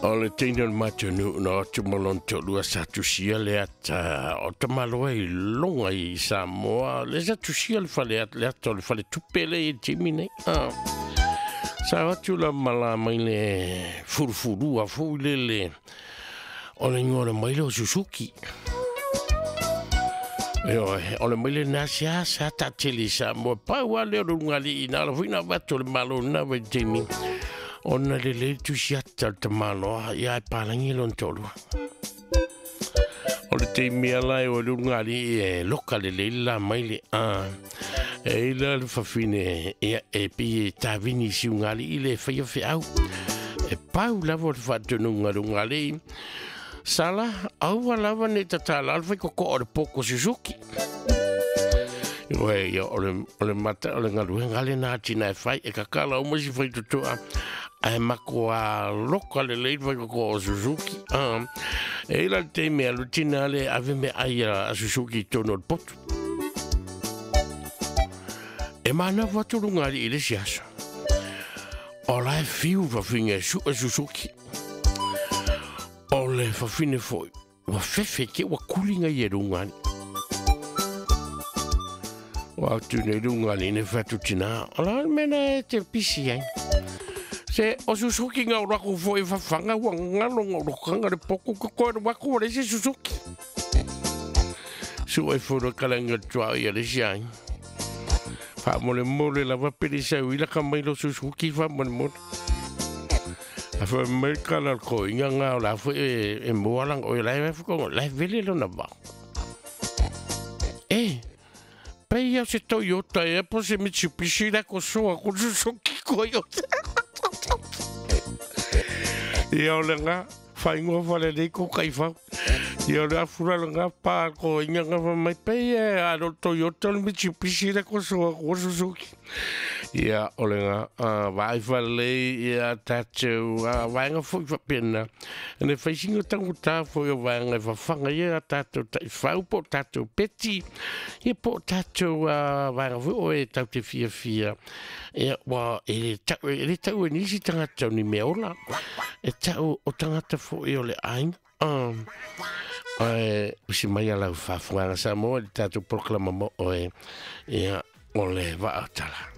O le teine o le matou nuu na o atu ma lona toalua sa tusia le ata o tamaloa i luga i Samoa, lea sa tusia le fale le ata o le faletupe lea i le taimi nei. Ah. Sa o atu la ma la mai le fulufulua foi lele o le igoa o le maile o Suzuki. Ioe, o le maile lena sea sa taatele i Samoa. Pau lava lea o le ulugalii na ala foi na avatu e le Malo i lena vaitaimi ona lelei le tusi ata o le tamaloa ia ae palagi lona toalua. O le taimi ala e o le ulugalii e loka lelei le la maile. A, e i la le fafine ia e pei e tavini i si ulugalii le faia feau. E pau lava o le faatonuga a le ulugalii. Sala, aua lava nei tatala le faikokoo o le poko Suzuki. Ioe, ia, o le, o le mata, o le galuega lena a tina e fai, e kakala uma si faitotoa, ae matua loka lelei le faikokoo o Suzuki. Ah, e i la le taimi e alu tina le ave meaai a Suzuki i totonu o le potu. E manawa atu luga alii i le isi aso. O la e fiu fafine e sue Suzuki. O le fafine foi, ua fefe ke ua kuli ngai e luga alii. Ua atu nei luga alii nei fai atu tina, o la le mea na e te pisi ai. Se o Suzuki nga o aku foi fafanga ua ngalo nga urokanga le poku ko koe waku o le se Suzuki. Sue furo kalanga tua ia le si ai. Faamolemole lava pele sau ila ka mai lo Suzuki faamolemole. A fa mai kala ko inga nga o la fo e e moa lang o la e fo la vele lo na ba. E pei ia se Toyota e po se Mitsubishi la ko soa ko Suzuki Toyota. Ia o le nga whaingoa whale nei ko kaifau. Ia o le afura le nga pā ko inga nga wha mai pei e a no Toyota le Mitsubishi le ko soa ko Suzuki. Ia o le nga vaai whalei ia tātou vaenga foi whapena. Ene whaisinga tango tā foi o vaenga e whawhanga ia tātou taifau po tātou peti. Ia po tātou vaenga foi o e tau te fia fia. Ia wa e le tau e le tau e nisi tangata o ni mea ola. E tau o tangata foi o le aiga. Ae usi mai a lau faafogaga Samoa i le tatou polokalama mo oe, ia, o le vaa o tala.